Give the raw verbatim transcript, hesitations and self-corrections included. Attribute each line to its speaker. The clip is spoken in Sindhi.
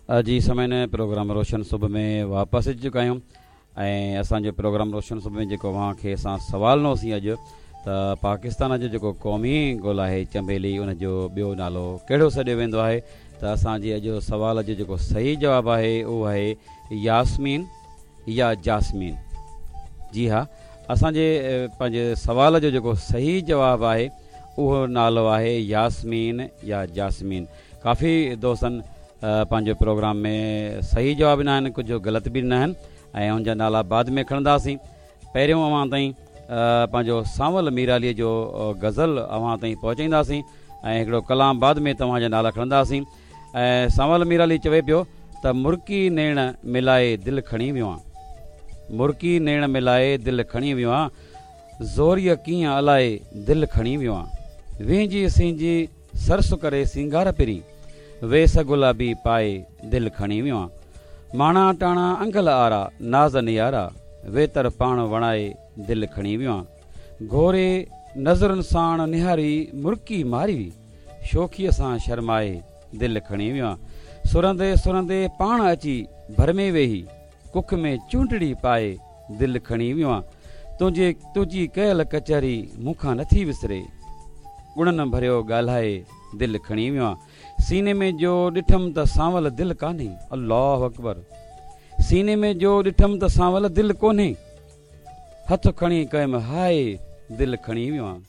Speaker 1: جي سامعين، پروگرام روشن صبح ۾ واپس اچي چڪا آهيون ۽ اسان جو پروگرام روشن صبح ۾ جيڪو اوهان کي اسان سوال ڏنوسين اڄ ته پاڪستان جو جيڪو قومي گل آهي چنبيلي، ان جو ٻيو نالو ڪهڙو سڏيو ويندو آهي؟ ته اسان جي اڄ سوال جو جيڪو صحيح جواب آهي، اهو آهي ياسمين يا جاسمين. جي ها، اسان جي پنهنجي سوال جو جيڪو صحيح جواب آهي، اهو نالو آهي ياسمين يا جاسمين. ڪافي دوستن پنهنجو پروگرام ۾ صحيح جواب ڏنا آهن، ڪجهه غلط به ڏنا آهن ۽ ان جا نالا بعد ۾ کڻنداسين. پهريون اوهان تائين پنهنجو سانول ميراليء جو غزل اوهان تائين پهچائينداسين ۽ هڪڙو ڪلام بعد ۾ توهان جا نالا کڻنداسين. ۽ سانول ميرالي چوي پيو ته مرڪي نيڻ ملائي دل کڻي ويو آن، مرڪي نيڻ ملائي دل کڻي ويو آن، زوريء ڪيئن الائي دل کڻي ويو آن. وهنجي سهنجي سرس ڪري سينگار پرين، ويس گلابي پائي دل کڻي ويو آن. ماڻا ٽاڻا انگل آرا ناز نيارا، ويتر پاڻ وڻائي دل کڻي ويو آن. گهوري نظرن ساڻ نهاري مرڪي ماري وي، شوخيء سان شرمائي دل کڻي ويو آن. سرندي سرندي پاڻ اچي ڀر ۾ ويهي، ڪک ۾ چونڊڙي پائي دل کڻي ويو آن. تنهنجي تنهنجي ڪيل ڪچهري مون کان نٿي وسري، ڳڻن ڀريو ڳالهائي دل کڻي ويو آن. سيني ۾ جو ڏٺم ته سانول دل ڪانهي، الله اڪبر، سيني ۾ جو ڏٺم ته سانول دل ڪونهي، هٿ کڻي ڪيم هاءِ دل کڻي ويو آن.